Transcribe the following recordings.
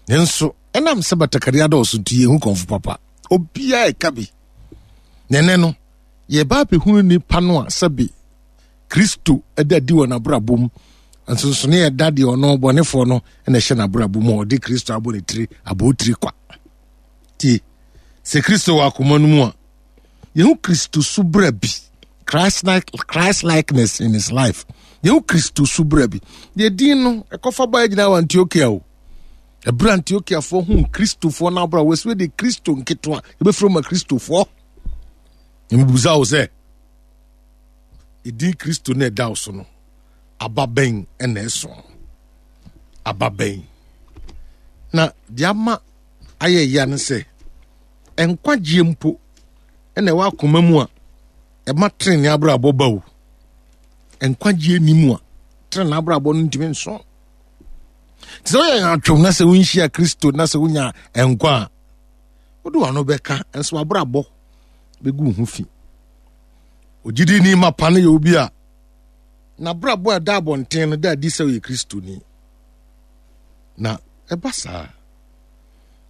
Nanso ɛnam sɛ batakari adɔɔso nti yɛhu kɔmfo papa. Obiara ɛka bi. Na ɛnɛ no, yɛba abɛhunu nipa no a sɛbe Kristo da adi wɔ n'abrabɔ mu. Nsonsonoeɛ a ɛda deɛ ɔno bɔnefoɔ no na ɛhyɛ n'abrabɔ mu a ɔde Kristo abɔ ne tiri abotiri kwa. Tie, sɛ Kristo wɔ akoma no mu a, yɛhu Kristo su bra bi, Christ-like, Christ-likeness in his life. Yɛhu Kristo su bra bi. Deɛ din no, ɛkɔfa baa gyina wɔ Antiokia o. Ɛberɛ Antiokiafoɔ hu Kristofoɔ no abra, wɔsi de Kristo nketewa, yɛbɛfiri ma Kristofoɔ. Mebisa wo sɛ, ɛdin Kristo no ɛda wo so no, aba bɛn na ɛso? Aba bɛn? Na deɛ ama ayɛ ya no sɛ, nkwagyeɛ mpo na ɛwɔ akoma mu a ɛma trenee abrabɔ ba o. Nkwagyeɛ ni mu a trenee abrabɔ no ntumi nso. Te sɛ woyɛ atwom na sɛ wonhyia Kristo na sɛ wonya nkwa a, wode w'ano bɛka nso w'abrabɔ bɛgu wo ho fi. Ogyidini mapa no yɛ obi a n'abrabɔ a ɛda abɔnten no da adi sɛ ɔyɛ Kristoni. Na ɛba saa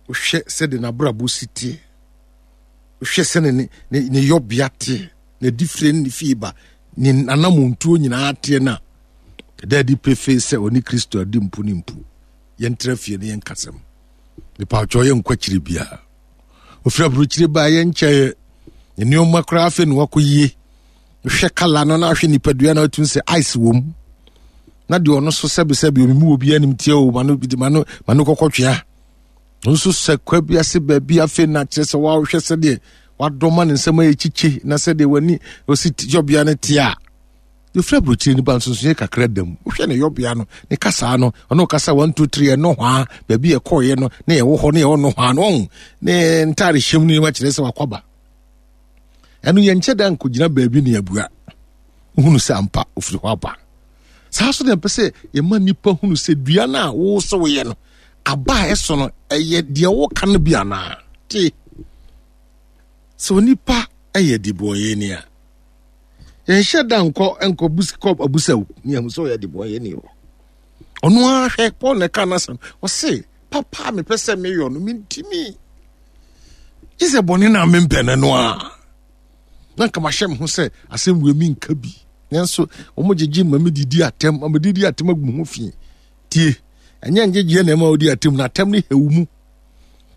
wohwɛ sɛde n'abrabɔ si teɛ, wohwɛ sɛde ne ne ne yɔbea teɛ, n'adifire ne ne fie ba, ne n'anamontuo nyinaa teɛ no a, ɛda adi pefee sɛ ɔne Kristo adi mpo ne mpo. Yɛntra fie ne yɛnkasɛm. Mepawkyɛw yɛnkɔ akyiri biara. Ofiri aburokyire baa yɛnkyɛeɛ. Ne nneɛma koraa afei na wakɔ yie. Hwɛ kala no na ahwɛ nipadua na atumi sɛ ice wɔ mu. Na deɛ ɔno so sɛbesɛbe omi mu obi anim tie o ma no ma no ma no kɔkɔ twea. Ɔno nso sɛ kwa bi ase baabi afei na kyerɛ sɛ wahwɛ sɛdeɛ wadɔ ma ne nsɛm ayɛ kyikyi na sɛdeɛ w'ani osi yɔbea no te a yɛfiri aburokyire nipa nsonsonoeɛ kakra da mu wohwɛ ne yɔbea no ne kasaa no ɔno kasa 1 2 3 ɛno hwaa baabi yɛkɔɔyɛ no ne yɛwɔ hɔ ne yɛwɔ no hwaa no ɔho ne ntaare hyɛm no nneɛma kyerɛ sɛ wakwaba ɛno yɛnkyɛ da nkɔgyina baabi ne abua wohunu sɛ ampa ofiri hɔ aba saa so deɛ mpɛ sɛ yɛma nnipa hunu sɛ dua no a wo sɛ woyɛ no aba a ɛso no ɛyɛ deɛ woka no bi anaa te sɛ onipa yɛ dibɔnyɛni a yɛnhyɛ da nkɔ nkɔ bus kɔ abusaw ne ahu sɛ ɔyɛ dibɔnyɛni o ɔno ara hwɛ paul na ɛka n'asɛm ɔse papa a mepɛ sɛ meyɔ no mentimi gye sɛ bɔne no a mempɛ no no a na nka mahyɛ me ho sɛ asɛm wei menka bi nanso wɔn gyegye ma medidi atɛm ma medidi atɛm agu me ho fi tie ɛnyɛ ngyegyeɛ na ɛma wodi atɛm na atɛm no hɛw mu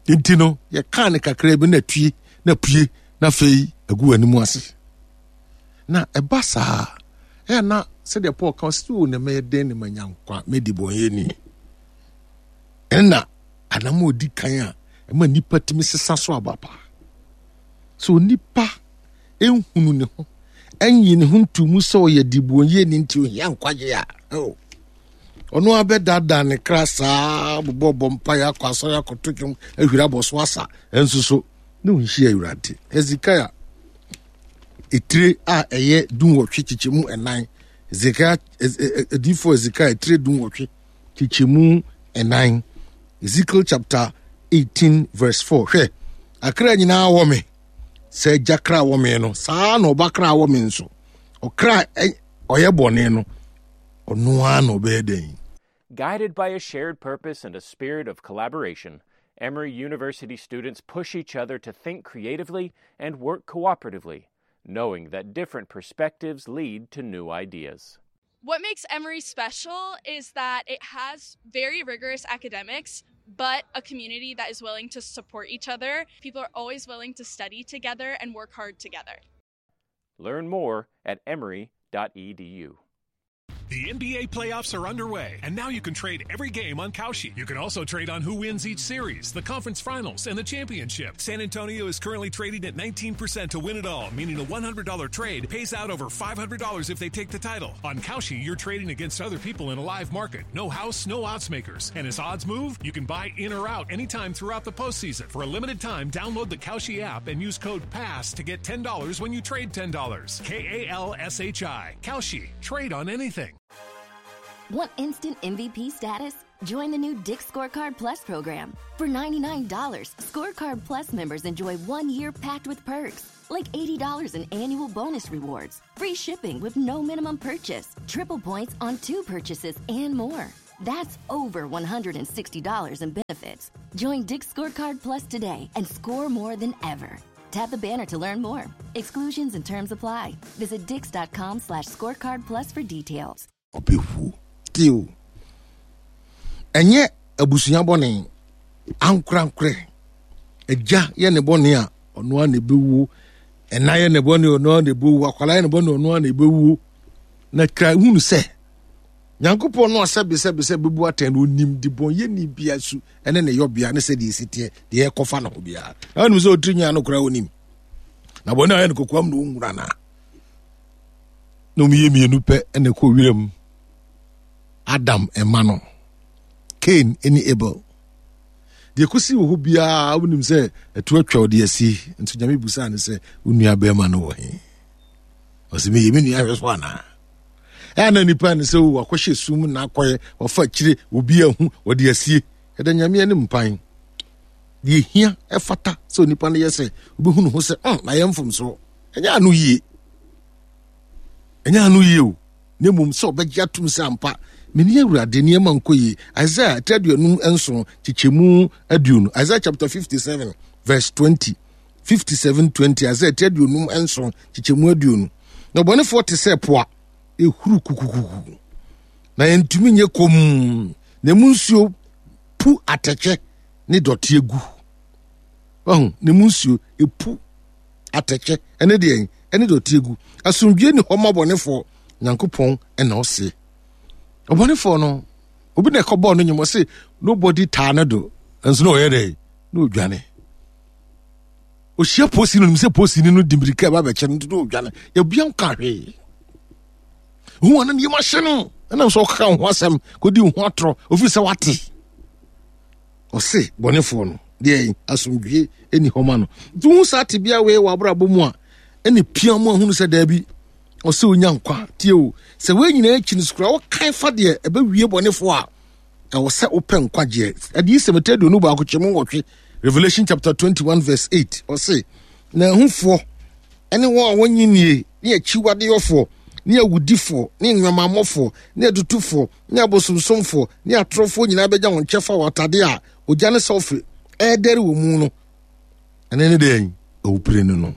nti no yɛkaa no kakra bi na tue na pue na afei agu w'anim ase na ɛba saa ɛyɛ na sɛdeɛ paul ka ɔsɛ o na mɛyɛ dɛn ne manya nkwa mɛdi bɔnyɛni ɛna anam a ɔdi kan a ɛma nnipa tumi sesa so aba paa sɛ onipa nhunu ne ho ɛnyi ne ho nto mu sɛ ɔyɛ dibonyɛni nti ohia nkwagye a oh. ɔno abɛdaadaa ne kra saa bobɔ bɔ mpaeɛ akɔ asɔre akɔto dwom ahwiri abɔ so asa ɛnso so ne ɔnhyia awurade hezekiah etire a ɛyɛ dunwɔtwe kyekyɛmu ɛnan hezekiah adiifoɔ hezekiah etire dunwɔtwe kyekyɛmu ɛnan ezekiel chapter 18 verse 4 hwɛ akra nyinaa wɔ me sɛ agya kra wɔ me no saa na ɔba kra wɔ me nso ɔkra ɔyɛ bɔne no ɔno ara na ɔbɛyɛ dɛn Guided by a shared purpose and a spirit of collaboration, Emory University students push each other to think creatively and work cooperatively, knowing that different perspectives lead to new ideas. What makes Emory special is that it has very rigorous academics, but a community that is willing to support each other. People are always willing to study together and work hard together. Learn more at emory.edu. The NBA playoffs are underway, and now you can trade every game on Kalshi. You can also trade on who wins each series, the conference finals, and the championship. San Antonio is currently trading at 19% to win it all, meaning a $100 trade pays out over $500 if they take the title. On Kalshi, you're trading against other people in a live market. No house, no odds makers. And as odds move, you can buy in or out anytime throughout the postseason. For a limited time, download the Kalshi app and use code PASS to get $10 when you trade $10. K A L S H I. Kalshi. Trade on anything. Want instant MVP status? Join the new Dick Scorecard Plus program. For $99, Scorecard Plus members enjoy one year packed with perks, like $80 in annual bonus rewards, free shipping with no minimum purchase, triple points on two purchases, and more. That's over $160 in benefits. Join Dick's Scorecard Plus today and score more than ever. Tap the banner to learn more. Exclusions and terms apply. Visit dix.com slash scorecard plus for details. Ɔbɛwu. Tio. Ɛnyɛ abusua bɔne. Ankorankorɛ. Agya yɛ ne bɔne a, ɔno ara na ɛbɛwuo. Ɛna yɛ ne bɔne ɔno ara na ɛbɛwuo. Akwadaa yɛ ne bɔne ɔno ara na ɛbɛwuo. Na kra hunu sɛ, Nyankopɔn no a sɛbesɛbesɛ bɛbu atɛn no, ɔnim debɔnyɛni bia su ne ne yɔbea ne sɛdeɛ ɛsi teɛ, deɛ ɛkɔfa ne ho biara. Na wonim sɛ ɔtiri nyaa no koraa ɔnim. Na bɔne a ɔyɛ no kokoam na ɔnhunu anaa? Na ɔmyɛ mmienu pɛ na ɛkɔ wiram. Adam ɛma no, Cain ne Abel. Deɛ ɛkɔsi wɔ hɔ biara wonim sɛ ɛto atwa ɔde asi. Nso Nyame busaa no sɛ, wo nua bɛrima no wɔ he? Ɔsɛ meyɛ me nua hwɛ so anaa? Ɛyɛ na nipa ne sɛ wakɔhyɛ sum na akɔyɛ wafa akyire obi ahu ɔde asie. Ɛda Nyame anim mpan. Deɛ hia ɛfata sɛ onipa no yɛ sɛ wobɛhu ne ho sɛ mm, na yɛ mfomsoɔ. Ɛnyɛ ano yie. Ɛnyɛ ano yie o. Na mmom sɛ ɔbɛgye atom sɛ ampa mene Awurade nneɛma nkɔ yie. Isaiah 57 kyekyɛmu 20. Isaiah chapter 57 verse 20. 57:20 Isaiah 57 kyekyɛmu 20. Na ɔbɔnefoɔ te sɛ po a ɛhuru kukukuku, na ɛntumi nyɛ komm, na emu nsuo pu atɛkyɛ ne dɔteɛ gu. Wahu, na emu nsuo ɛpu atɛkyɛ ɛne deɛ ɛne dɔteɛ gu. Asomdwie ni hɔ ma ɔbɔnefoɔ, Nyankopɔn ɛna ɔse. Ɔbɔnefoɔ no, obi na ɛkɔbɔɔ no nwom, ɔse nobody taa no do, nso na ɔyɛ dɛ, na ɔdwane. Ɔhyia polisi no, nim sɛ polisi no di mmirika ɛba bɛkyɛ no, nti na ɔdwane. Yɛbia nka hwee. Hu ana ne yam ahye no, ɛnam sɛ ɔkeka wo ho asɛm, kɔdi wo ho atorɔ, ɔfiri sɛ wate. Ɔse bɔnefoɔ no, deɛ asomdwie ɛni hɔ ma no. Nti wohu saa tebea wei wɔ abrabɔ mu a, ɛne pia mu ahunu sɛ daabi, ɔsɛ onya nkwa. Tie o, sɛ wei nyinaa akyi no so koraa, wokan fa deɛ ɛbɛwie bɔnefoɔ a, ɛwɔ sɛ wopɛ nkwagyeɛ. Adiyisɛm ɛtɛ 21 kyɛmu 8, Revelation chapter 21 verse 8, ɔse, na ahufoɔ ɛne wɔn a wɔnye nie, ne akyiwadeyɔfoɔ, ne awudifoɔ, ne nnwamammɔfoɔ, ne atutufoɔ, ne abosomsomfoɔ, ne atorofoɔ nyinaa bɛgya wɔn kyɛfa wɔ atadeɛ a ogya ne sɔlfe ɛredɛre wɔ mu no. Ɛne ne deɛn? Awupire no no.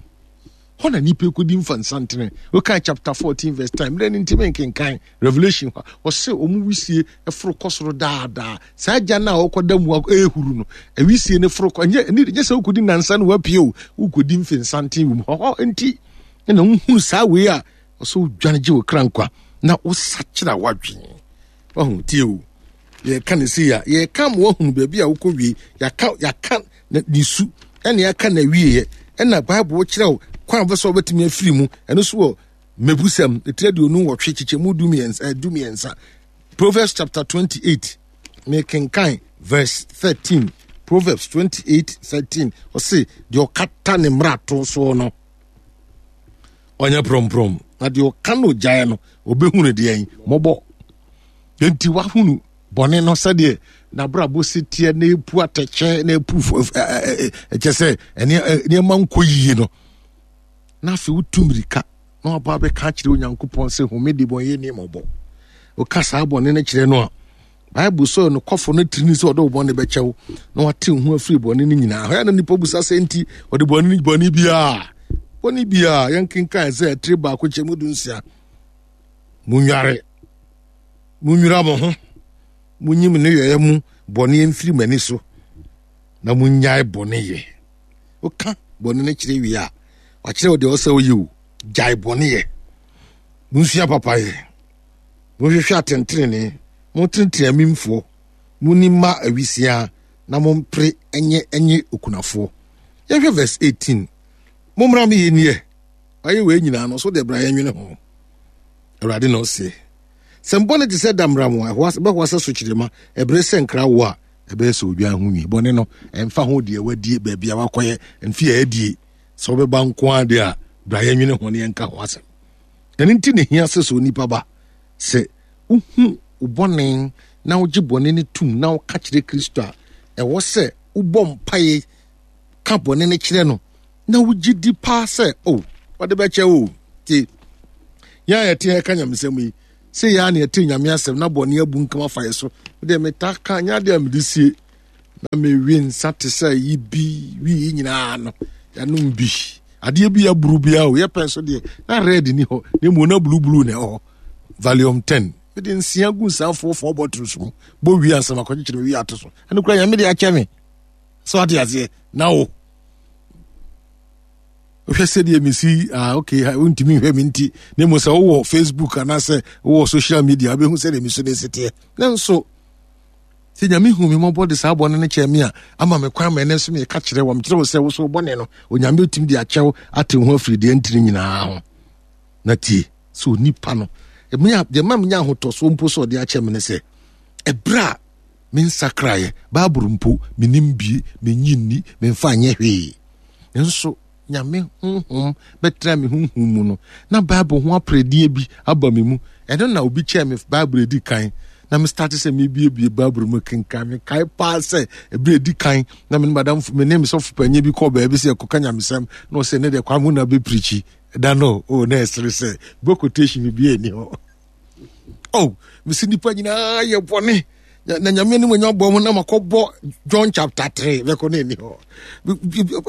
Hɔ na nipa kɔdi mfa nsantene. Wokan chapter 14 verse 10. Mmerɛ no ntimi nkenkan Revelation hɔ a, ɔse wɔn wisie foro kɔ soro daadaa. Saa gya no a wɔkɔda mu ɛrehuru no, wisie no foro kɔ. Ɛnyɛ ɛnyɛ sɛ wokɔdi nansa na wapue o, wokɔdi mfe nsanten wɔ mu. Hɔ nti na wohunu saa wei a ɔsɛ wodwane gye wo kra nkwa na wosakyera w'adwene. Wahu tie o. Yɛka ne sei a, yɛka ma wahunu baabi a wokɔ wie. Yɛaka yɛaka ne su ɛna yɛaka na wieɛ. Ɛna Bible kyerɛ wo kwan a wobɛsɛ wobɛtumi afiri mu. Ɛno so wɔ Mmebusɛm etiri 28 kyekyɛmu 13. Proverbs chapter 28 mekenkan verse 13. Proverbs 28 13 ɔse deɛ ɔkata ne mmarato soɔ no ɔnyɛ prɔmprɔm, na deɛ ɔka no gyae no ɔbɛhunu deɛn mmɔbɔ. Enti wahunu bɔne no sɛdeɛ n'abrabɔ si teɛ na epu atɛkyɛ na epu ɛkyɛ sɛ nneɛma nkɔ yie no, na afei wotu mmirika na waba abɛka akyerɛ Onyankopɔn sɛ home de bɔnyɛ ni mmɔbɔ. Woka saa bɔne no kyerɛ no a, Bible sɛ ɔnokwafo no tirini sɛ ɔde wo bɔne bɛkyɛ wo na wate wo ho afiri bɔne no nyinaa. Hɔ na nipa busa sɛ nti ɔde bɔne no bɔne biara bɔne biara yɛnkenkan sɛ ɛtiri baako kyɛ mu 16. Munware, munwira mo ho, munyi mo nneyɔeɛ mu bɔne mfiri mo ani so na munnyae bɔne yɛ. Woka bɔne no kyerɛ wie a, wakyerɛ wo deɛ ɔsɛ woyɛ o. Gyae bɔne yɛ. Munsua papayɛ. Monhwehwɛ atɛntenenee, montenetene amimfoɔ, monni mma awisiaa, na mompere nyɛ nye okunafoɔ. Yɛnhwɛ verse 18. Mommra me yɛnni ɛ. Wayɛ wei nyinaa no, so deɛ bra yɛnwene ho. Awurade na ɔseɛ. Sɛ mbɔne te sɛ damram a, ɛbɛhoa sɛ sokyerema, ɛbere sɛ nkrawoɔ a, ɛbɛyɛ sɛ odwan ho nwi. Bɔne no, ɛmfa ho deɛ wadie, baabi a wakɔyɛ, mfe a adie, sɛ wobɛba nko ara deɛ a, bra yɛnwene ho na yɛnka ho asɛm. Ɛno nti na ehia sɛ sɛ onipa ba, sɛ wohu wo bɔne na wogye bɔne no tom na woka kyerɛ Kristo a, ɛwɔ sɛ wobɔ mpae ka bɔne no kyerɛ no na wogye di paa sɛ, o, oh, ɔde bɛkyɛ o. Ti, yɛn a yɛte ha ka nyamesɛm yi, Sɛ yɛ a na yɛte Nyame asɛm na bɔne abu nkam afa yɛ so. Deɛ metaa ka nyɛ adeɛ a mede sie na mewe nsa te sɛ yi bi wi yi nyinaa no yɛanom bi. Adeɛ bi aburu biara o yɛpɛ nso deɛ na red ni hɔ na mmom na blue blue na ɛwɔ hɔ. Valium 10 mede nsia gu nsa four bottles mu bɔ wie ansa makɔkyekyere me wie ato so. Ɛno kora Nyame de akyɛ me. So ate aseɛ na wo wohwɛ sɛdeɛ mesi ah, okay wontumi nhwɛ me nti na mmom sɛ wowɔ facebook anaasɛ wowɔ social media wobɛhu sɛdeɛ mesu no ɛsiteɛ nanso sɛ nyame hu me mmɔbɔ de saa bɔne no kyɛɛ me a ama me kwan ma ɛnɛ nso meka kyerɛ wɔ mekyerɛ wo sɛ wo so bɔne no onyame bɛtumi de akyɛw ate ho afiri deɛ ntiri nyinaa ho na tie sɛ onipa no deɛ ma menya ahotɔsoɔ mpo sɛ ɔde akyɛ me ne sɛ ɛberɛ a mensakraeɛ bible mpo menim bie menyi nni memfa nyɛ hwee Nanso Nyame honhom bɛtena me honhom mu no, na Bible ho aperedeɛ bi aba me mu. Ɛno na obi kyɛɛ me Bible edi kan, na me start sɛ mebiebie Bible mu kenkan. Mekae paa sɛ ɛberɛ edi kan na me ne madam me ne me sɔfo panyin bi kɔɔ baabi sɛ yɛkɔka nyamesɛm, na ɔsɛ ne deɛ kwa mu na bɛpirikyi. Da no, oh, na ɛsere sɛ bɔ quotation bi ani hɔ. Oh, mesi nipa nyinaa yɛ bɔne na nyame anim anya bɔ mu na makɔbɔ john chapter 3 bɛkɔ na ɛni hɔ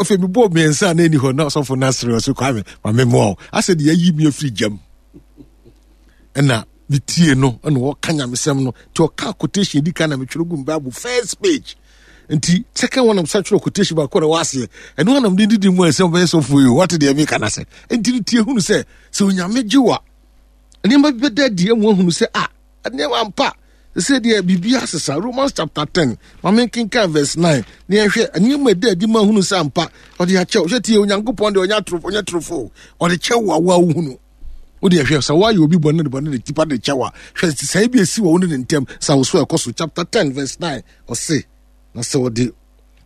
afei mebɔɔ mmiɛnsa a na ɛni hɔ na ɔsɔfo no asere ɔso kwame ma memmoa wo asɛ deɛ ayi me afiri gyam ɛna metie no ɛna ɔka nyamesɛm no nti ɔka quotation di kan na metwerɛ gu bible first page nti second one am sa twerɛ quotation baako na ɛwɔ aseɛ ɛno anam de didi mu a ɛsɛ ɔbɛyɛ sɔfo yi wate deɛ meka no sɛ nti no tie hunu sɛ sɛ onyame gye wa nneɛma bi bɛda adi ama wahunu sɛ a ah, nneɛma ampa sɛ deɛ biribi asesa romans chapter 10 ma menkenkan verse 9 na yɛhwɛ nneɛma ɛda adi ma hunu sɛ ampa ɔde akyɛw hwɛ tie onyankopɔn deɛ ɔnyɛ atorofo ɔnyɛ torofo ɔde kyɛw wo awoa wohunu wode ɛhwɛ sɛ woayɛ obi bɔne de bɔne de tipa de kyɛw a hwɛ sɛe bi ɛsi wɔ wo ne ne ntam sɛ wo so ɛkɔ so chapter 10 verse 9 ɔse na sɛ ɔde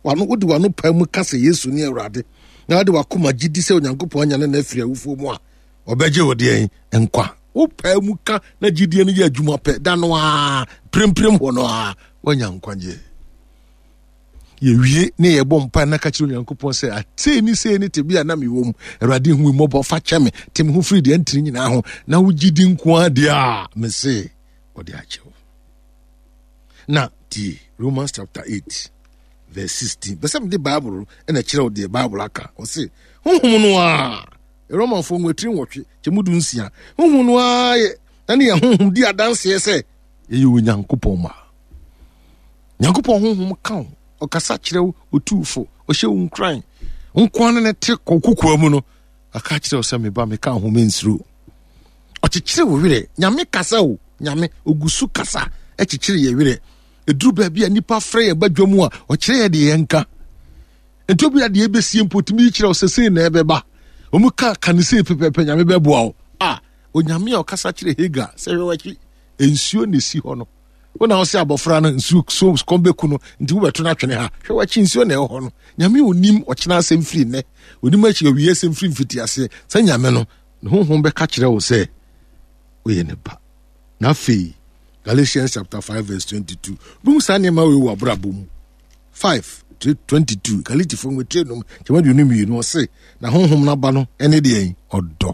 wano wode wano paa mu ka sɛ yesu ne awurade na wode wakoma gye di sɛ onyankopɔn anyane no afiri awufoɔ mu a ɔbɛgye wo deɛn nkwa wopaa mu ka na gyidie no yɛ adwuma pɛ da no a premprem hɔ no a woanya nkwagyeɛ yɛwie ne yɛbɔ mpa na ka kyerɛ onyankopɔn sɛ atei ne sei ne tebea na mewɔ mu awurade hu mmɔbɔ fa kyɛ me te me ho firi deɛ ntiri nyinaa ho na wogye di nko ara deɛ a mese ɔde akyɛ wo na tie romans chapter 8 verse 16 bɛsɛ mede bible ɛna kyerɛ wo deɛ bible aka ɔse honhom no a Romanfoɔ nwatiri nwɔtwe kyɛ mu du nsia. Honhom no ara yɛ ɛne yɛn honhom di adanseɛ sɛ yɛyɛ Onyankopɔn mma. Nyankopɔn honhom ka wo, ɔkasa kyerɛ wo, otu fo, ɔhyɛ wo nkuran. Nkoa no ne te kɔkokoa mu no, aka kyerɛ wo sɛ meba meka ho mensuro. Ɔkyekyere wo werɛ. Nyame kasa o, Nyame ogu so kasa ɛkyekyere yɛ werɛ. Ɛduru baabi a nnipa frɛ yɛ badwa mu a, ɔkyerɛ yɛ deɛ yɛnka. Nti obi a deɛ ɛbɛsie mpo tumi yi kyerɛ wo sɛ sei na ɛbɛba. Wɔn ka ka ne sei pɛpɛpɛ nyame bɛboa wo. A onyame a ɔkasa kyerɛ Hagar sɛ hwɛ w'akyi nsuo na ɛsi hɔ no. Wo na wo sɛ abɔfra no nsuo so kɔm bɛku no nti wobɛto no atwene ha. Hwɛ w'akyi nsuo na ɛwɔ hɔ no. Nyame onim ɔkyena asɛm firi nnɛ. Onim akyi awie asɛm firi mfitiaseɛ. Sɛ nyame no ne honhom bɛka kyerɛ wo sɛ woyɛ ne ba. Na afei Galatians chapter 5 verse 22. Wobɛhu saa nneɛma wei wɔ abrabɔ mu. 5 22 Galatifo nwetire nom kyɛm 22 ɔse na honhom no aba no ɛne deɛ ɔdɔ.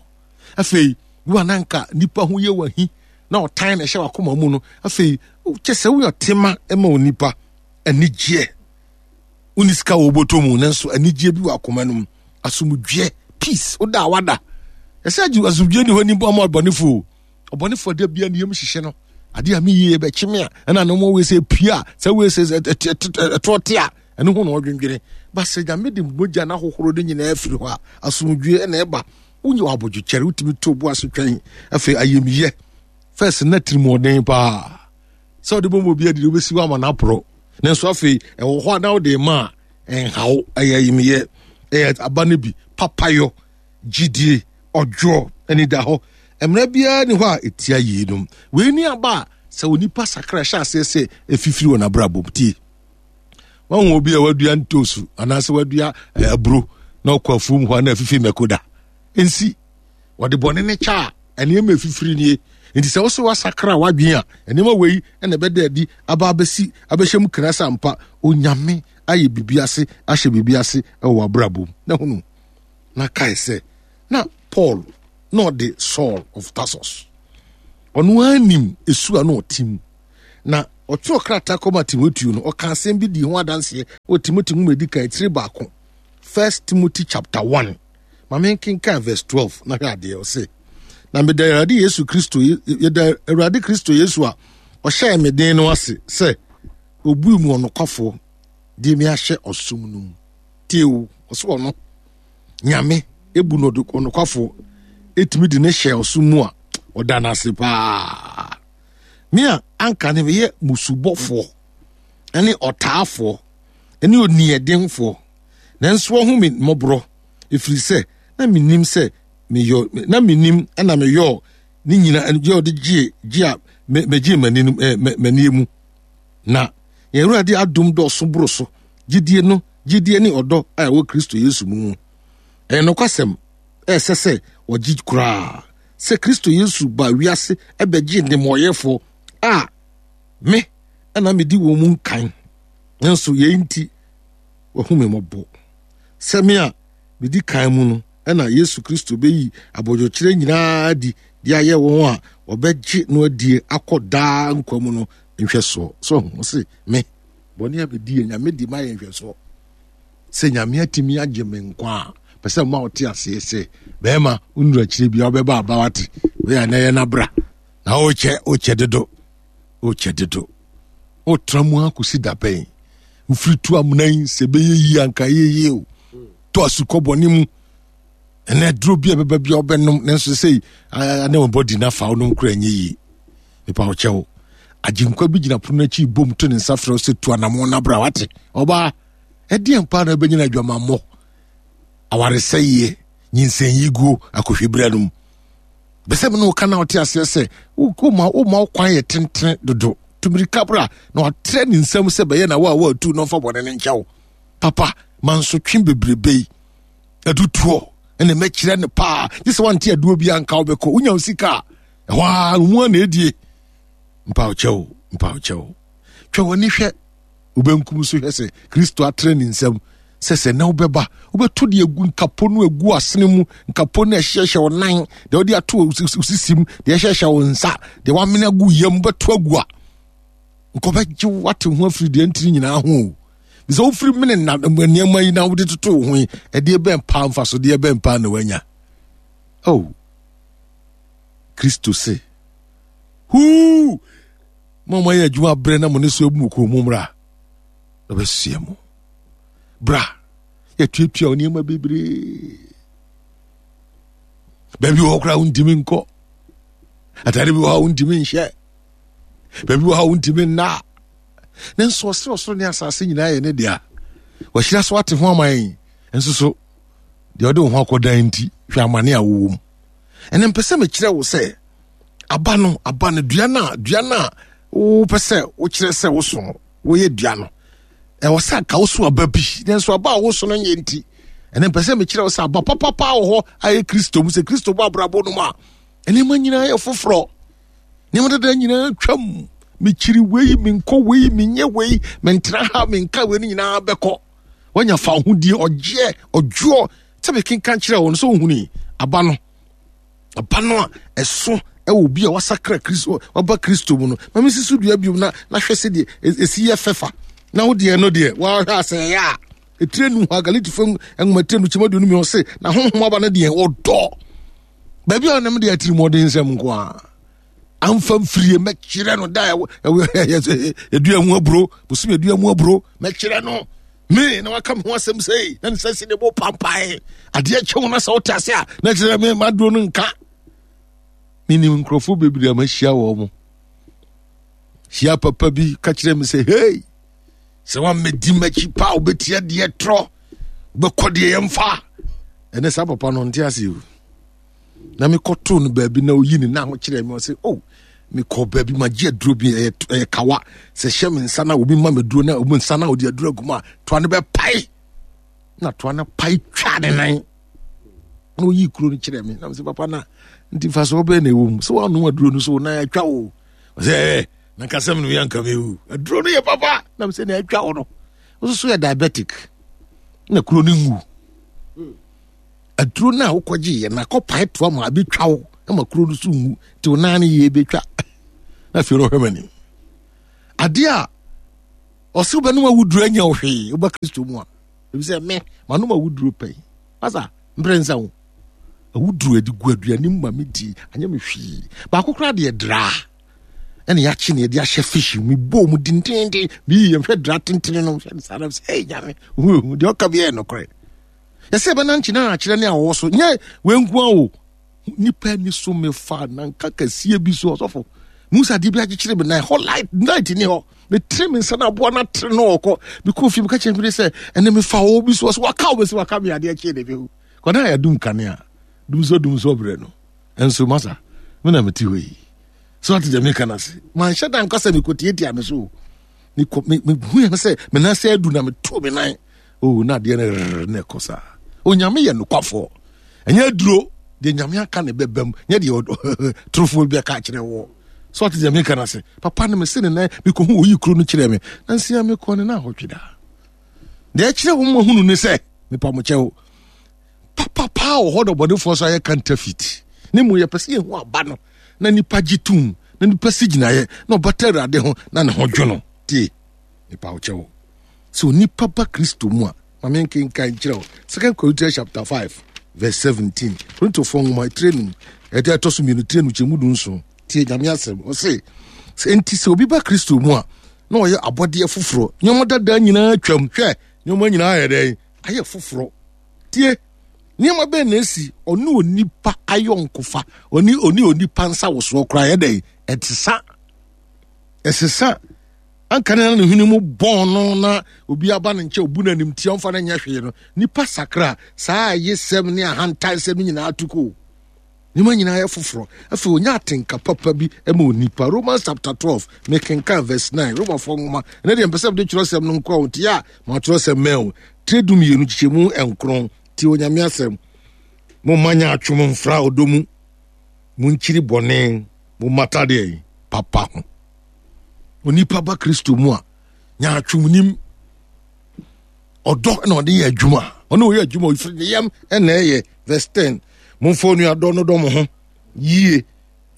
Afei wo a na nka nipa ho yɛ wahi na ɔtan na ɛhyɛ wakoma mu no afei kyɛ sɛ woyɛ ɔtema ma onipa anigyeɛ woni sika wɔ wobɔtɔ mu nanso anigyeɛ bi wɔ akoma no mu asomdwoeɛ peace woda a wada ɛsɛ asomdwoeɛ ni hɔ ni ama ɔbɔnefoɔ ɔbɔnefoɔ da bia ne yam hyehye no adeɛ a meyie bɛkye me a ɛna ne mo wei sɛ pie a sɛ wei sɛ ɛtoɔ te a ɛno ho na ɔdwendwene ba sɛ nyame de mogya no ahohoro no nyinaa afiri hɔ a asomdwoeɛ ɛna ɛba wonyɛ wɔ abodwokyɛre wotumi to bo ase twɛn afei ayamyɛ fɛs na tirimɔden paa sɛ wode bɔmmɔ bi adidi wobɛsi hɔ ama no aporɔ nanso afei ɛwɔ hɔ a na wode ma a ɛnhaw ɛyɛ ayamyɛ ɛyɛ aba no bi papayɔ gyidie, ɔdwoɔ, anidahɔ. Mmara biara ni hɔ a ɛtia yeinom. Wei ni aba a sɛ onipa sakra hyɛ aseɛ sɛ ɛfifiri wɔ n'abrabɔ mu. Tie. Wahu obi a wadua ntoosu anaasɛ wadua eh, aburo na ɔkɔ afuom hɔ a na afifi mako da. Nsi. Wɔde bɔne ne kyɛ a nneɛma ɛfifiri nie. Nti sɛ wosɛ wasakra w'adwene a nneɛma wei na ɛbɛda adi aba abɛsi abɛhyɛ mu kena sɛ ampa onyame ayɛ biribi ase ahyɛ biribi ase wɔ w'abrabɔ mu. Na hunu. Na kae sɛ, na Paul na ɔde Saul of Tarsus. Ɔno ara nim esu a na ɔte mu. Na ɔtwerɛ krataa kɔma Timoteo no, ɔka asɛm bi dii ho adanseɛ wɔ Timoteo nwoma edi kan tiri baako, First Timothy chapter 1. Ma menkenkan verse 12 na hwɛ adeɛ ɔse. Na meda Awurade Yesu Kristo yɛda Awurade Kristo Yesu a ɔhyɛɛ me den no ase sɛ obui mu ɔnokwafoɔ de me ahyɛ ɔsom no mu. Tie o, ɔse ɔno Nyame ebu no ɔnokwafoɔ etumi de ne hyɛ ɔsom mu a ɔda no ase paa. Me a anka ne meyɛ musubɔfoɔ ne ɔtaafoɔ ne oniɛdenfoɔ nanso ɔho me mmɔborɔ ɛfiri sɛ na menim sɛ meyɔ na menim na meyɔɔ ne nyina yɛ ɔde gye gye a megyee m'ani no m'ani mu na yɛn Awurade adom dɔɔso boro so gyidie no gyidie ne ɔdɔ a ɛwɔ Kristo Yesu mu mu. Ɛyɛ nokwasɛm ɛsɛ sɛ wɔgye koraa sɛ Kristo Yesu ba wiase ɛbɛgye nnebɔneyɛfoɔ a me ɛna medi wɔn mu nkan. Nanso yei nti wahu me mmɔbɔ sɛ me a medi kan mu no ɛna Yesu Kristo bɛyi abodwokyerɛ nyinaa adi de ayɛ wɔn a wɔbɛgye no adie akɔ daa nkwa mu no nhwɛsoɔ. So ho se me bɔne a medi yɛ Nyame de ma yɛ nhwɛsoɔ sɛ Nyame atumi agye me nkwa a pɛ sɛ ma ɔte aseɛ sɛ bɛrima wonuru akyire bia wobɛba aba wate wei a na ɛyɛ nabra na wokyɛ wokyɛ dodo wokyɛ dodo wotra mu akɔsi da bɛn wofiri tu amena yi sɛ ɛbɛyɛ yie anka ɛyɛ yie o to asukɔ bɔne mu ɛnɛ duro bi a ɛbɛba bi a wobɛnom nanso sɛ ne wɔn bɔdi no afa wonom kora ɛnyɛ yie nipa ɔkyɛw agyenkwa bi gyina pono akyi bom to ne nsa frɛ sɛ tu anamɔ no abra wate ɔbaa ɛdeɛn paa na ɛbɛnyina adwamammɔ awaresɛeɛ nyinsɛnyiguo akɔhweberɛ no mu bɛsɛ me ne woka na wote aseɛ sɛ woma woma wo kwan yɛ tentene dodo tumirika bra na watrɛ ne nsam sɛ bɛyɛ na wo a woatu na ɔmfa bɔne no nkyɛ wo papa mansotwe bebrebe yi adutoɔ ɛna mɛkyerɛ no paa gye sɛ wante aduo bi anka wobɛkɔ wonya wo sika a ɛhɔ a mu a na ɛdie mpawokyɛw mpawokyɛw twa w'ani hwɛ wobɛnkum so hwɛ sɛ kristo atrɛ ne nsam sɛ sɛ na wobɛba wobɛto deɛ agu nkapo no agu asene mu nkapo no ɛhyehyɛ wo nan deɛ wode ato wo sisim deɛ ɛhyehyɛ wo nsa deɛ wamene agu yam wobɛto agu a nkɔbɛgye wate ho afiri deɛ ntiri nyinaa ho o sɛ wofiri mene na nneɛma yi na wode toto wo ho yi ɛdeɛ bɛn paa mfasodeɛ bɛn paa na wanya oh kristo se huu mo a moayɛ adwuma berɛ na mo ne so abu mo kɔn mu mmra na bɛsoɛ mo bra yɛtuatua wo nneɛma bebree baabi wɔ hɔ koraa wontumi nkɔ atade bi wɔ hɔ a wontumi nhyɛ baabi wɔ hɔ a wontumi nna nanso ɔsoro ɔsoro ne asase nyinaa yɛ ne dea wahyira so ate ho ama yɛn nso so deɛ ɔde wo ho akɔdan nti hwɛ amane a wowɔ mu ɛnɛ mpɛ sɛ mekyerɛ wo sɛ aba no aba no dua no a dua no a wopɛ sɛ wokyerɛ sɛ woso no woyɛ dua no ɛwɔ sɛ anka woso aba bi nanso aba a woso no nyɛ nti ɛnɛ mpɛ sɛ mekyerɛ wo sɛ aba papapa wɔ hɔ ayɛ kristo mu sɛ kristo bɔ abrabɔ no mu a nneɛma nyinaa yɛ foforɔ nneɛma dada nyinaa twam mekyiri wei menkɔ wei menyɛ wei mentena ha menka wei no nyinaa bɛkɔ wanya fa ahodie ɔgyeɛ ɔdwoɔ sɛ mekenka kyerɛ wo no sɛ wohuni aba no aba no a ɛso ɛwɔ obi a wasakra kristo waba kristo mu no ma mesi so dua biom na na hwɛ sɛdeɛ ɛsi yɛ fɛfa na wo deɛ no deɛ wahwɛ asɛ ɛyɛ a ɛtire nu hɔ a galatifo nwoma tire no kyɛm aduonu mmiɛnsa se na honhom aba no deɛ ɔdɔ baabi a ɔnam deɛ atirimuɔden nsɛm nko a amfa mfirie mɛkyerɛ no da ɛdua mu aburo bosom ɛdua mu aburo mɛkyerɛ no me na waka me ho asɛm sei na ne sɛ si ne bo pampae adeɛ kyɛ wo na sɛ wote ase a na kyerɛ me maduro no nka menim nkurɔfoɔ bebree a mahyia wɔ mo hyia papa bi ka kyerɛ me sɛ hei sɛ woammɛdi m'akyi pa wobɛtia deɛ torɔ wobɛkɔ deɛ yɛmfa ɛne saa papa no nte ase o na mekɔtoo no baabi na oyi ne nan ho kyerɛ me ɔsɛ oh mekɔ baabi magye aduro bi ɛyɛ ɛyɛ kawa sɛ hyɛ me nsa na obi ma me duro na obi nsa na ɔde aduro agu mu a toa no bɛpae na toa no pae twa ne nan na oyi kuro no kyerɛ me na mesɛ papa na nti fa so ɔbɛn na ɛwɔ mu sɛ woanom aduro no so na atwa wo ɔsɛ ɛɛ na nkasɛm no yɛ nka mewu aduro no yɛ papa na mesɛ na atwa wo no wo so yɛ diabetic na kuro no nwu aduro no a wokɔgye yɛ na akɔpae toa ma abɛtwa wo. Ɛma kuro no so nwu nti wo nan no yie bɛtwa. Na afei no ɔhwɛ m'anim. Adeɛ a ɔse wobɛnom awuduro anya wo hwee woba Kristo mu a. Ebi sɛ me manom awuduro pɛn. Masa mprɛ nsa wo. Awuduro adi gu aduane mu ma medi anyɛ me hwee. Baako koraa deɛ draa. Ɛna yɛakye ne yɛde ahyɛ fish mu bɔɔ mu dendenden. Meyi yɛn hwɛ draa tentene no hwɛ ne saa na sɛ ɛyɛ nyame. Hu deɛ ɔka bi yɛ nokorɛ. Yɛsɛ yɛbɛnante na akyerɛ ne awɔwɔ so nyɛ wenkoa o. Nipa ani so mefa nanka kɛseɛ bi so ɔsɔfo. Mu sɛ adeɛ bi akyekyere me nan hɔ light light ni hɔ. Metere me nsa na aboa no atere no ɔkɔ. Mekɔ fie meka kyerɛ me sɛ ɛnɛ mefa wɔ bi so ɔsɛ waka wo bɛsɛ waka me adeɛ kyee ne bɛhu. Kɔda a yɛdum kanea dum so berɛ no. Ɛnso masa me na mete hɔ yi. So ate deɛ meka no ase. Manhyɛ da nka sɛ mekɔtiatia no so. Mehu yɛ sɛ me nan sɛ adu na meto me nan. Oh, na adeɛ no rrr na ɛkɔ saa. Onyame yɛ nokwafoɔ. Ɛnyɛ aduro deɛ nyame aka ne bɛbam nyɛ deɛ torofoɔ bi aka akyerɛ wɔ. So ate deɛ meka no ase. Papa no mese ne nan mekɔhu oyi kuro no kyerɛ me. Na nsia mekɔ ne na ahɔtwe daa. Deɛ ɛkyerɛ wɔn mahunu ne sɛ mepa mo kyɛw. Papa paa wɔ hɔ na ɔbɔnefoɔ so ayɛ counterfeit. Ne mu yɛpɛ sɛ yɛhu aba no na nipa gye tom na nipa si gyinaeɛ na ɔbata awurade ho na ne ho dwo no. Tie mepa wo kyɛw. Sɛ onipa ba Kristo mu a, ma menkenkan nkyerɛ wo. Second Corinthians chapter 5 verse 17. Korintofoɔ nwoma etire num, ɛde ɛtɔ so mmienu tire num kyɛmu du nson. Tie Nyame asɛm. Ɔse, sɛ enti sɛ obi ba Kristo mu a, na ɔyɛ abɔdeɛ foforɔ. Nneɛma dada nyinaa twam. Hwɛ, nneɛma nyinaa ayɛ dɛn? Ayɛ foforɔ. Tie, nneɛma bɛn na esi ɔne onipa ayɔnkofa, ɔne ɔne onipa nsawosoɔ koraa yɛ dɛn? Ɛsesa. Ɛsesa. Anka na ne hwene mu bɔn no na obi aba ne nkyɛn obu no animtia ɔmfa no nyɛ hwee no, nipa sakra saa ayesɛm ne ahantansɛm nyinaa to kɔ. Nneɛma nyinaa yɛ foforɔ. Afei onya atenka papa bi ma onipa. Romans chapter 12, mekenkan verse 9, Romafoɔ nwoma. Ɛnɛ deɛ mpɛ sɛ mede twerɛsɛm no nkoa wo nti a ma twerɛsɛm mɛn o. Tire du mmienu kyekyɛmu nkron. Tie Onyame asɛm. Momma nyaatwom mfra ɔdɔ mu. Monkyiri bɔne. Mommata deɛ papa ho. Onipa ba Kristo mu a, nyaatwom nim. Ɔdɔ na ɔde yɛ adwuma. Ɔne ɔyɛ adwuma ɔfiri ne yam na ɛyɛ. Verse 10. Momfa onuadɔ no dɔ mo ho yie.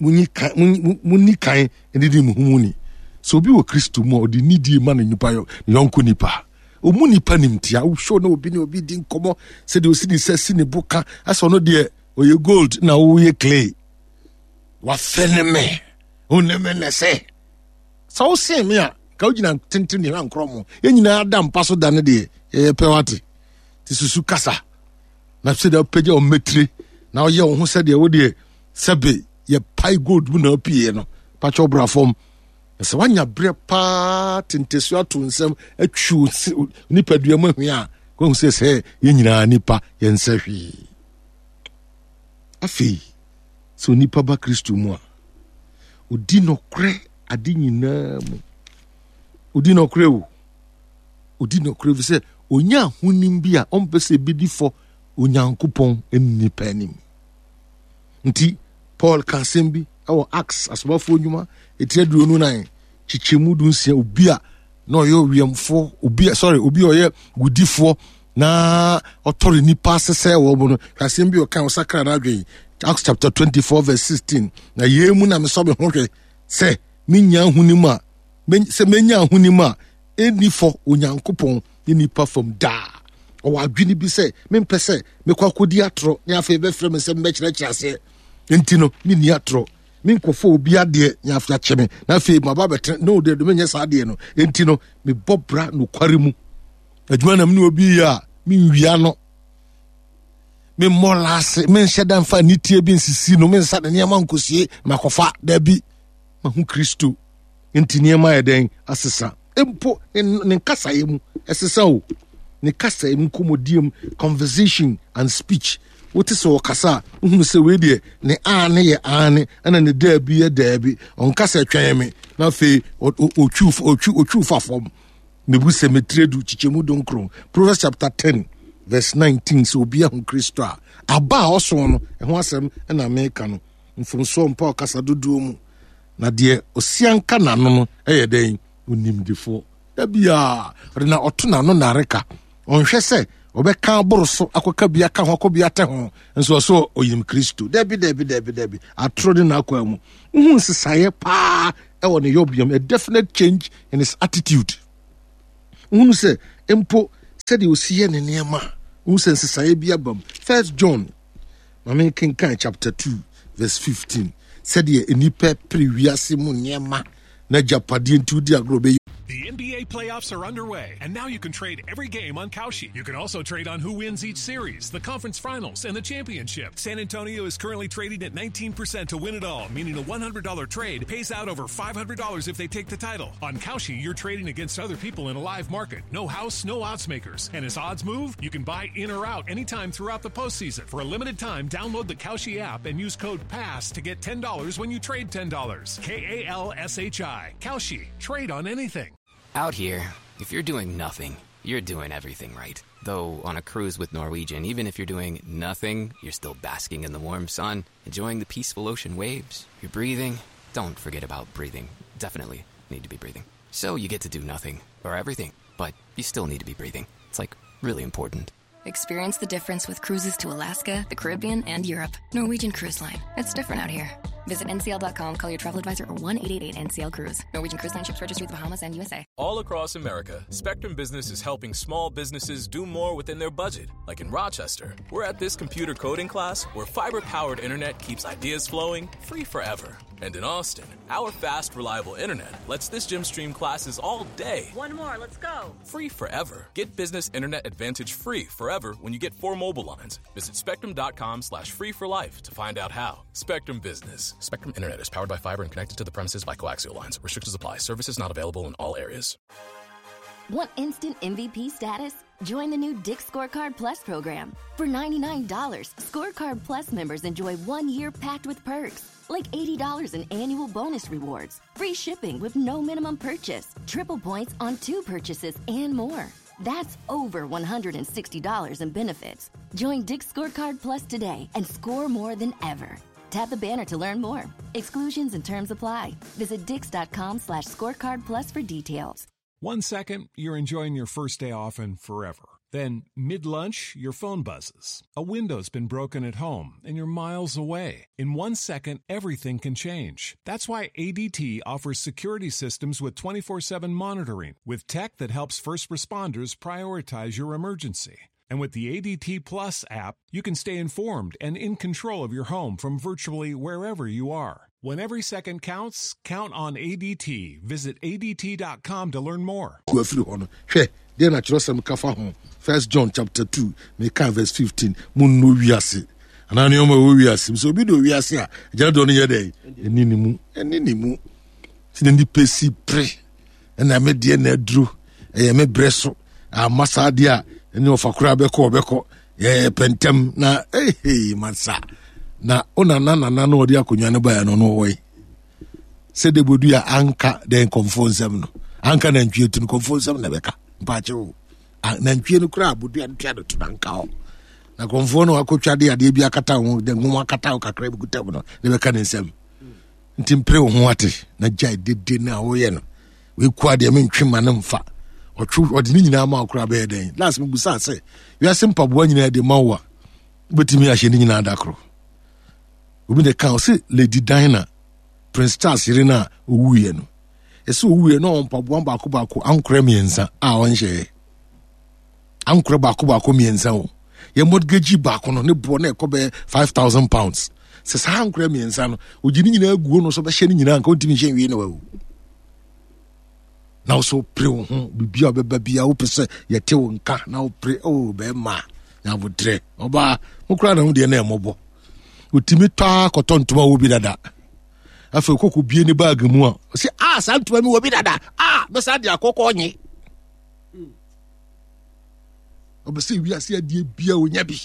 Munyi kan munni kan didi mo ho mu ni. Sɛ obi wɔ Kristo mu a, ɔde nidie ma ne nipa ne yɔnko nipa. Ɔmu nipa nimtia. Wohwɛ na obi ne obi di nkɔmmɔ sɛdeɛ ɔsi ne sɛ si ne bo ka asɛ ɔno deɛ ɔyɛ gold na woyɛ clay. Wafɛ ne me. Wo ne me na sɛ sɛ wosen me a ka wogyina tenten deɛ ankorɔ mo yɛn nyinaa da mpa so da no deɛ yɛyɛ pɛ wate te susu kasa na sɛ deɛ wopagya wo mmatire na woyɛ wo ho sɛdeɛ wo deɛ sɛbe yɛpae gold mu na wopieɛ no pakyɛ wobra fam na sɛ woanya berɛ paa tenteso ato nsɛm atwi nipadua mu ahwia a woahu sɛ sɛ yɛn nyinaa nipa yɛnsɛ hwee afei Sɛ onipa ba Kristo mu a, odi nɔkorɛ ade nyinaa mu. Odi nɔkorɛ o. Odi nɔkorɛ fi sɛ onya ahonim bi a ɔmpɛ sɛ ebedi fɔ Onyankopɔn ne nipa anim. Nti Paul ka asɛm bi wɔ Acts asomafoɔ nnwuma etiri 24 kyekyɛmu 16 obi a na ɔyɛ ɔwiɛmfoɔ obi a sorry obi a ɔyɛ wudifoɔ na ɔtɔre nipa ase sɛ wɔ mu no hwɛ asɛm bi ɔka ɔsakra n'adwene Acts chapter 24 verse 16 na yei mu na mesɔ me ho hwɛ sɛ menya ahonim a sɛ menya ahonim a ɛnni fɔ Onyankopɔn ne nipa fam daa ɔwɔ adwene bi sɛ mempɛ sɛ mekɔ akɔdi atorɔ ne afei bɛfrɛ me sɛ mbɛkyerɛkyerɛ aseɛ nti no menni atorɔ menkɔfa obi adeɛ ne afei akyɛ me na afei maba bɛtena no deɛ menyɛ saa adeɛ no enti no mebɔ bra nokware mu adwuma na mene obi yɛ a menwia no memmɔ laase menhyɛ da mfa nitie bi nsisi no mensa ne nneɛma nkɔsie makɔfa daabi mahu kristo nti nneɛma yɛ dɛn asesa mpo ne nkasaeɛ mu ɛsesa o ne kasaeɛ mu nkɔmmɔdie mu conversation and speech wote sɛ ɔkasa a wohunu sɛ wei deɛ ne aane yɛ aane ɛna ne daabi yɛ daabi ɔnka sɛ twɛn me na afei ɔtwiw fa fam mebu sɛ metire du kyekyɛmu dunkron Proverbs chapter 10 verse 19 sɛ obi ahu Kristo a aba a ɔso no ɛho asɛm ɛna meka no mfomsoɔ mpa ɔkasa dodoɔ mu na deɛ ɔsianka n'ano no ɛyɛ dɛn onimdefoɔ da biara ɔde na ɔto n'ano nareka ɔnhwɛ sɛ Ɔbɛka aboro so akɔka bi aka ho akɔ bi atɛ ho nso ɔso ɔyim Kristo. Dabi dabi dabi dabi. Atoro ne n'akwan mu. Wohu nsesaeɛ paa ɛwɔ ne yɔbeam. A definite change in his attitude. Wohunu sɛ mpo sɛdeɛ ɔsi yɛ ne nneɛma wohu sɛ nsesaeɛ bi aba mu. First John, ma menkenkan chapter 2 verse 15. Sɛdeɛ nnipa pere wiase mu nneɛma na agyapadeɛ nti wodi agorɔ bɛyɛ. The NBA playoffs are underway, and now you can trade every game on Kalshi. You can also trade on who wins each series, the conference finals, and the championship. San Antonio is currently trading at 19% to win it all, meaning a $100 trade pays out over $500 if they take the title. On Kalshi, you're trading against other people in a live market. No house, no odds makers. And as odds move, you can buy in or out anytime throughout the postseason. For a limited time, download the Kalshi app and use code PASS to get $10 when you trade $10. K A L S H I. Kalshi. Trade on anything. Out here, if you're doing nothing, you're doing everything right. Though on a cruise with Norwegian, even if you're doing nothing, you're still basking in the warm sun, enjoying the peaceful ocean waves, you're breathing. Don't forget about breathing. Definitely need to be breathing. So you get to do nothing or everything, but you still need to be breathing. It's like really important. Experience the difference with cruises to Alaska, the Caribbean, and Europe. Norwegian Cruise Line. It's different out here. Visit ncl.com, call your travel advisor, or 1 888 NCL Cruise. Norwegian Cruise Line ships registry the Bahamas and USA. All across America, Spectrum Business is helping small businesses do more within their budget. Like in Rochester, we're at this computer coding class where fiber powered internet keeps ideas flowing free forever. And in Austin, our fast, reliable internet lets this gym stream classes all day. One more, let's go. Free forever. Get business internet advantage free forever when you get four mobile lines. Visit spectrum.com slash free for life to find out how. Spectrum Business. Spectrum Internet is powered by fiber and connected to the premises by coaxial lines. Restrictions apply. Services not available in all areas. Want instant MVP status? Join the new Dick's Scorecard Plus program. For $99, Scorecard Plus members enjoy one year packed with perks, like $80 in annual bonus rewards, free shipping with no minimum purchase, triple points on two purchases, and more. That's over $160 in benefits. Join Dick's Scorecard Plus today and score more than ever. Tap the banner to learn more. Exclusions and terms apply. Visit dix.com slash scorecard plus for details. One second, you're enjoying your first day off and forever. Then, mid lunch, your phone buzzes. A window's been broken at home and you're miles away. In one second, everything can change. That's why ADT offers security systems with 24 7 monitoring, with tech that helps first responders prioritize your emergency. And with the ADT Plus app, you can stay informed and in control of your home from virtually wherever you are. When every second counts, count on ADT. Visit ADT.com to learn more. afiri hɔ no hwɛ deɛ na kyerɛsɛm ka fa ho first john chapter 2 meka verse 15 monno wiase anaa nneɛma ɛwɔ wiase sɛ obi de owiase a agyina dɔ no yɛ dɛn ɛni ne mu ɛni ne mu sɛ na nipa si pere ɛna me deɛ na aduro ɛyɛ me brɛ so ama saa deɛ a ɛne ɔfa koraa bɛkɔ ɔbɛkɔ yɛyɛ pɛntɛm na ehe masa na ɔnana nana na ɔde akonnwa no baeɛ no no ɔwɔ yi sɛ de bodu a anka dɛn kɔmfo nsɛm no anka nantwie tu no kɔmfo nsɛm na ɛbɛka mpakyɛ o nantwie no koraa bodua no tua no to na nka hɔ na kɔmfoɔ no akɔtwa de adeɛ bi akata ho de nwoma akata ho kakra bi kuta mu no na ɛbɛka ne nsɛm nti mpere wo ho ate na gyae dede no a woyɛ no weku adeɛ mentwe ma no mfa ɔtwe ɔde ne nyinaa ma wo koraa bɛyɛ dɛn last mebusaa sɛ wiase mpaboa nyinaa de ma wo a wobɛtumi ahyɛ ne nyinaa da koro obi na ka ɔse lady Diana Prince Charles yere no a ɔwuiɛ no ɛsɛ ɔwuiɛ no ɔwɔ mpaboa baako baako ankorɛ mmiɛnsa a ɔnhyɛɛ ankorɛ baako baako mmiɛnsa o yɛ mortgage baako no ne boɔ na ɛkɔ bɛyɛ 5000 pounds sɛ saa ankorɛ mmiɛnsa no ɔgye ne nyinaa guo no so bɛhyɛ ne nyinaa nka ɔntumi nhyɛ nwie na wawu na wo so pere wo ho biribi a ɔbɛba bia wopɛ sɛ yɛte wo nka na wopere o oh, bɛrima nyabotrɛ ɔbaa mo koraa na ho deɛ na ɛmmɔbɔ ɔtumi tɔ a kɔtɔ ntoma wɔ bi dada afei kɔkɔ bie ne baage mu a ɔsɛ a ah, saa ntoma mi wɔ bi dada a ah, bɛsa de akɔkɔ nye ɔbɛ sɛ wiase adeɛ bia ɔnya bi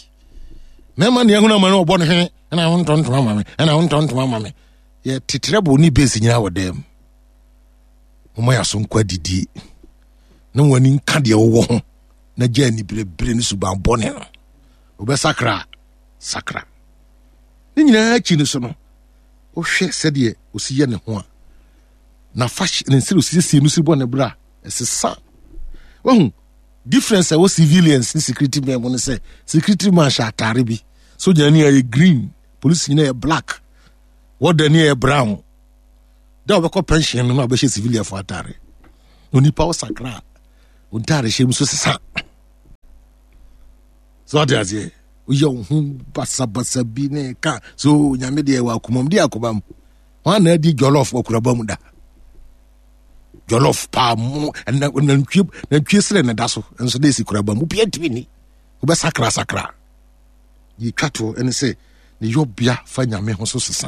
mɛma nea ɛhono ama no ɔbɔ no hwene ɛna wo ntɔ ntoma ma me ɛna wo ntɔ ntoma ma me yɛ tetrɛ bo ne base nyinaa wɔ dɛm wɔma yɛ aso nkɔ adidie na wɔn ani nka deɛ wɔwɔ ho na gya aniberebere ne suban bɔne no wɔbɛsakra sakra ne nyinaa akyi no so no wohwɛ sɛdeɛ ɔsi yɛ ne ho a na fa ne nsɛ osiesie no si bɔ ne bra ɛsesa wahu. Difference a ɛwɔ civilians ne security men mu ne sɛ security man hyɛ ataare bi, sogyani yɛ green, polisi nyina yɛ black, wɔdani yɛ brown. Da wɔbɛkɔ pension no na wɔbɛhyɛ civilian fo ataare. Onipa wo sakra a, wo ntaare hyɛ mu so sesa. So ɔde aseɛ woyɛ wo ho basabasa bi ne ka so nyame deɛ wɔ akomam di akomam. Wɔn na adi jollof wɔ kuraba mu da. Jollof paa mu ɛna nantwie nantwie srɛ na da so nso de esi kuraba mu bia ntumi ni. Wobɛsakra sakra. Yɛtwa toɔ ɛne sɛ ne yɔbea fa nyame ho so sesa.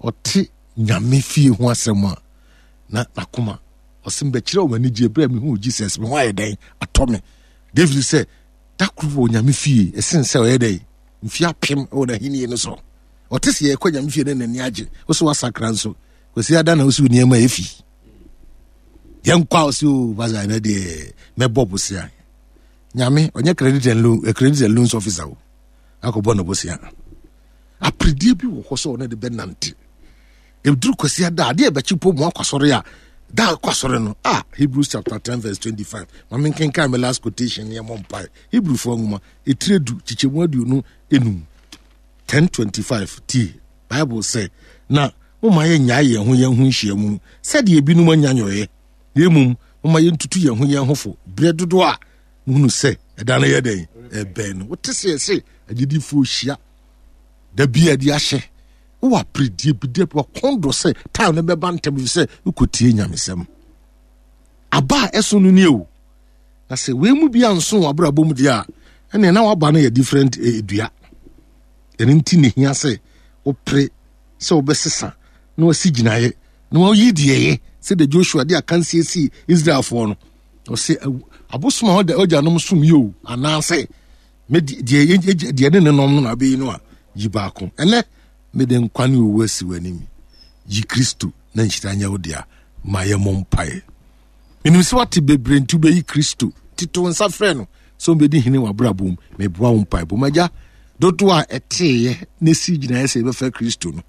Ɔte nyame fie ho asɛm a na n'akoma ɔsɛ mbɛkyerɛ wɔn anigye berɛ a mehu Jesus me ho ayɛ dɛn atɔ me. David sɛ da koro wɔ nyame fie ɛsen sɛ ɔyɛ dɛn mfie apem wɔ n'ahenni no so. Ɔte sɛ yɛkɔ nyame fie no n'ani agye. Wo so wasakra nso. Kwasi ada na wosi nneɛma efi. Yɛnkɔ a wosi o basa ɛnɛ deɛ mɛbɔ bosea. Nyame ɔnyɛ credit and loan eh, credit and loans officer o. Akɔbɔ no bosea. Aperedie bi wɔ hɔ sɛ ɔno de bɛnante. Ɛduru kwasi ada adeɛ ɛbɛkye po mu akɔ asɔre a da akɔ asɔre no ah Hebrews chapter 10 verse 25. Ma menkenkan me last quotation ne ɛmɔ mpae. Hebrewfoɔ nwoma etire du kyekyɛmu aduonu enum. 10:25 Tie, Bible sɛ, Na momma yɛnnyae yɛn ho yɛn ho nhyiamu, sɛdeɛ ebinom anya nyɔeɛ, na mmom momma yɛntutu yɛn ho yɛn ho fo berɛ dodoɔ a mohunu sɛ ɛda no yɛ dɛn ɛbɛn no. Wote sɛ yɛse agyidifoɔ hyia da bi a de ahyɛ wowɔ aperedie bi deɛ wakɔn dɔ sɛ time no bɛba ntɛm ɛfiri sɛ wokɔtie nyamesɛm. Aba a ɛso no nie o. Na sɛ wei mu bi anso wɔ abrabɔ mu deɛ a, ɛnneɛ na waba no yɛ different eh, dua. Ɛno nti na ehia sɛ wopere sɛ wobɛsesa na wasi gyinaeɛ na wayi deɛ ɛyɛ sɛdeɛ Joshua de akansie sii Israelfoɔ no. Ɔsɛ abosom a ɔda agyanom som yi o anaasɛ deɛ deɛ ne ne nom no na abɛyi no a yi baako. Ɛnɛ mede nkwa ne owu asi w'anim. Yi Kristo na nhyira nyɛ wo dea. Ma yɛmmɔ mpaeɛ. Menim sɛ wate bebree nti wobɛyi Kristo. Nti to nsa frɛ no sɛ ɔmbɛdi hene w'abrabɔ mu. Meboa wo mpaebɔ mu. Agya, dodoɔ a ɛteeɛ na ɛsii gyinaeɛ sɛ yɛbɛfa Kristo no,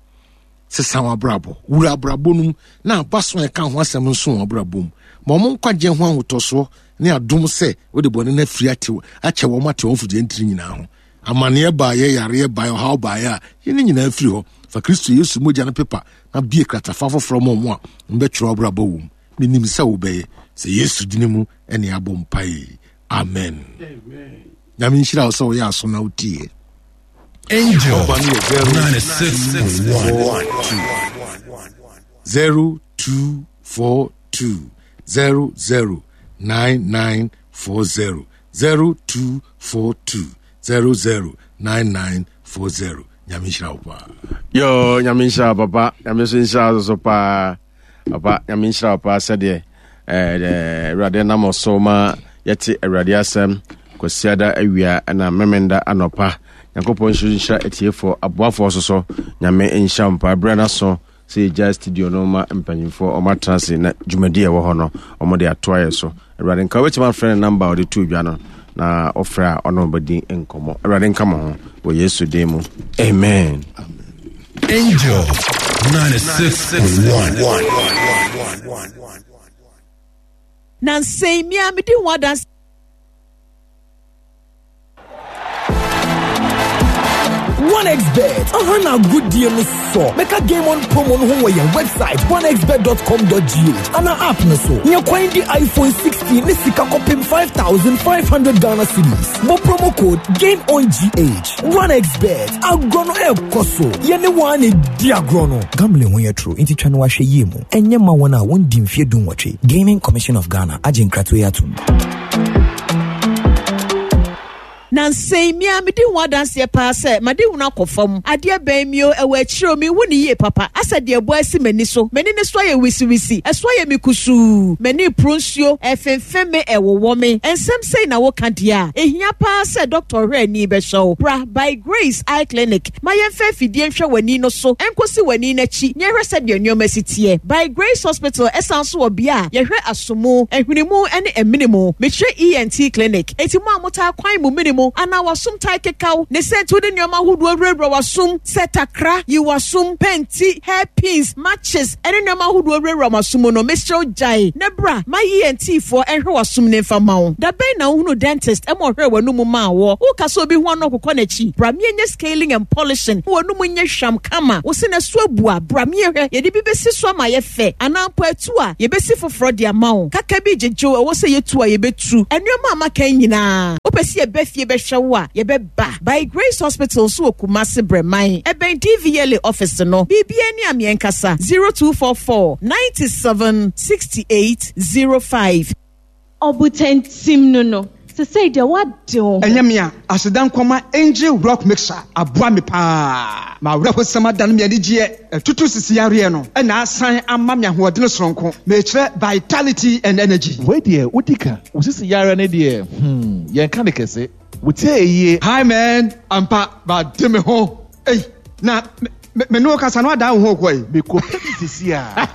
sesa w'abrabɔ. Wura abrabɔ no mu na abaso a ɛka ho asɛm nso wɔ abrabɔ mu. Ma wɔn nkwagyeɛ ho ahotɔsoɔ ne adom sɛ wode bɔne no afiri atew akyɛ wɔn ate wɔn mfugyeɛ ntini nyinaa ho. Amanneɛ baeɛ, yareɛ baeɛ, ɔhaw baeɛ a, yi ne nyinaa firi hɔ. Fa Kristo Yesu mogya no pepa na bue kratafa foforɔ ma wɔn a wɔbɛtwerɛ w'abrabɔ wɔ mu. Menim sɛ wobɛyɛ. Sɛ Yesu dini mu ɛne abɔ mpae. Amen. Nyame nhyira wo sɛ woyɛ aso na wotie. Angel 96.1 0242 00 9940 0242 00 9940 Nyame nhyira wo paa. Yo, nyame nhyira wo papa. Nyame nso nhyira wo so paa. Papa, nyame nhyira wo paa sɛdeɛ eh, Awurade nam ɔso ma yɛte Awurade asɛm Kwasiada awia na Memenda anɔpa. Nyankopɔn nso nhyira atiefoɔ, aboafoɔ so so. Nyame nhyira wo paa. Berɛ no aso sɛ yɛgya studio no ma mpanyimfoɔ ɔmo atena ase na dwumadi a ɛwɔ hɔ no ɔmo de ato ayɛ so. Awurade nka wobɛtumi afrɛ ne namba a ɔde to dwa no na ɔfrɛ a ɔne ɔbɛdi nkɔmmɔ. Awurade nka mo ho wɔ Yesu din mu. Amen. Angel 96.1. Nansa yi, me ara medi ho adanse. 1xBet aha na agodie no sɔ bɛka game on promo no ho wɔ yɛn website 1xbet.com.gh ana app no so nya kwan di iPhone 16 ne sika kɔpem 5500 Ghana cedis bɔ promo code game on GH 1xBet agorɔ no ɛrekɔ so yɛne wɔn a na ɛdi agorɔ no gambling ho yɛ toro nti twa no ahwɛ yie mu ɛnyɛ ma wɔn a wɔndi mfeɛ dunwɔtwe Gaming Commission of Ghana agye nkratoɔ yi atom. Nansa yi, me ara medi ho adanseɛ paa sɛ m'adehunu akɔ fam. Adeɛ bɛn me o, ɛwɔ akyire o, menhu no yie papa. Asɛ deɛ ɛbɔ asi m'ani so. M'ani no so ayɛ wisiwisi, ɛso ayɛ me kusuu, m'ani reporo nsuo, ɛrefemfem me, ɛrewowɔ me. Nsɛm sei na woka deɛ a, ɛhia paa sɛ dɔkta ɔhwɛ ani bɛhwɛ wo. Bra By Grace Eye Clinic ma yɛmfa afidie nhwɛ w'ani no so nkɔsi w'ani no akyi na yɛhwɛ sɛdeɛ nneɛma si teɛ. By Grace Hospital san nso wɔ bea a yɛhwɛ asomu, ahwene mu ne amene mu. Mekyerɛ ENT Clinic. Enti mo a motaa kwan mo mene mu. wo anaa w'asom tae keka wo. Ne sɛ nti wode nneɛma ahodoɔ wurawura w'asom sɛ takra, yi w'asom, pɛnti, hair pins, matches, ne nneɛma ahodoɔ wurawura w'asom mu no, mesrɛ wo gyae na bra ma ENT foɔ nhwɛ w'asom no mfa mma wo. Da bɛn na wohunuu dentist ma ɔhwɛɛ w'anomu maa woɔ? Woka sɛ obi ho ano ɔkokɔ n'akyi? Bra meɛnyɛ scaling and polishing ma w'anomu nyɛ hwam kama. Wo se na so abu a, bra meɛhwɛ, yɛde bi bɛsi so ama ayɛ fɛ anaa mpo atu a, yɛbɛsi foforɔ de ama wo. Kaka bi gyegye wo, ɛwɔ sɛ yɛtu a, yɛbɛtu. Nneɛma a maka yi nyinaa, wopɛ sɛ yɛba fie bɛhwɛ wo a, yɛbɛba. By Grace Hospital nso wɔ Kumasi Brɛman, ɛbɛn DVLA office no. Biribiara ni a meɛnkasa, 0244 97 68 05. Ɔbotantim no no, sesei deɛ woade wo ho. Ɛnyɛ me a, aseda nkɔma Angel Rock Mixer aboa me paa. M'awerɛhosɛm adane me anigyeɛ, atutu sisi yareɛ no na asan ama me ahoɔdene soronko, mekyerɛ vitality and energy. Wei deɛ wodi ka, wo sisi yareɛ no deɛ hmm yɛnka no kɛse. Wo tie yie. Hi man, ampa made me ho ei, na me ne wo kasa no adan wo ho kɔ yi. Me kɔ pɛ bi sisi a.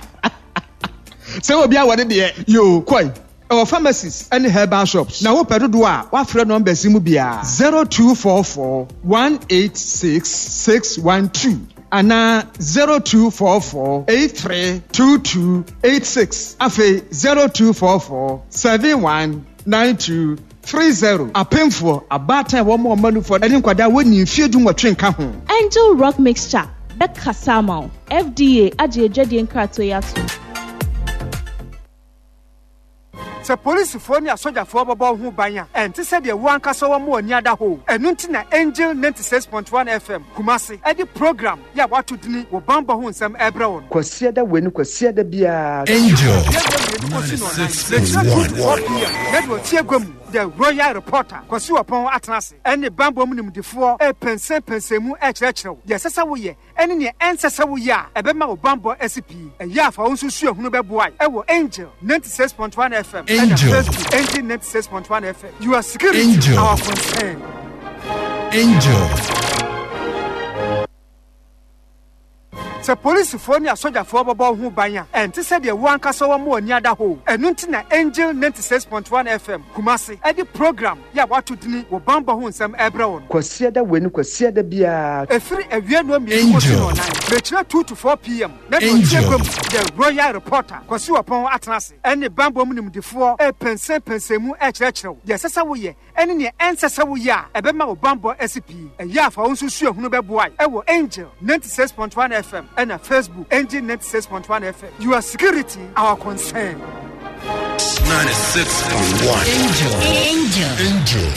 Sɛ obi awɔ ne deɛ yoo kɔ yi. Ɛwɔ pharmacies ne herbal shops. Na wopɛ dodoɔ a wafrɛ numbers yi mu biara, 0244 186 612 anaa 0244 83 22 86 afei 0244 71 92 30. Apemfoɔ, abaatan a wɔma wɔn mma nufoɔ ne nkwadaa a wɔnnii mfeɛ dunwɔtwe nka ho. Angel Rock Mixture bɛkasa ama wo. FDA agye adwadie nkratoɔ yi atom. Sɛ polisifoɔ ne asogyafoɔ bɛbɔ wo ho ban a, ɛnte sɛ deɛ wo ankasa wɔma w'ani ada hɔ o. Ɛno nti na Angel 96.1 FM, Kumasi, de program yi a wɔato dini Wo Bammɔ Ho Nsɛm rebrɛ wo no. Kwasiada wei ne Kwasiada biara. Angel Kɔsi nnɔnnan, mekyerɛ 2 to 4 PM, na deɛ ɔte agua mu, The Royal Reporter, Kwasi Ɔpɔn atena ase ne bammɔ mu nimdefoɔ repɛnsɛmpɛnsɛn mu rekyerɛkyerɛ wo deɛ ɛsɛ sɛ woyɛ ne nea ɛnsɛ sɛ woyɛ a ɛbɛma wo bammɔ asi pi. Ɛyɛ a fa wo nso suahunu bɛboa wɔ Angel 96.1 FM ɛna Angel. Facebook Angel 96.1 FM. Your security, Angel. our concern. Angel. Sɛ polisifoɔ ne asogyafoɔ bɛbɔ wo ho ban a, ɛnte sɛ deɛ wo ankasa wɔma w'ani ada hɔ o. Ɛno nti na Angel 96.1 FM, Kumasi, de program yi a wɔato dini Wo Bammɔ Ho Nsɛm rebrɛ wo no. Kwasiada wei ne Kwasiada biara. Ɛfiri awia nnɔnmienu kɔsi Angel. nnɔnnan, mekyerɛ 2 to 4 PM, na deɛ ɔte Angel. agua mu, The Royal Reporter, Kwasi Ɔpɔn atena ase ne bammɔ mu nimdefoɔ repɛnsɛmpɛnsɛn mu rekyerɛkyerɛ wo deɛ ɛsɛ sɛ woyɛ ne nea ɛnsɛ sɛ woyɛ a ɛbɛma wo bammɔ asi pi. Ɛyɛ a fa wo nso suahunu bɛboa wɔ Angel 96.1 FM ɛna Facebook Angel 96.1 FM. Your security, our concern. 96.1 Angel. Angel. Angel.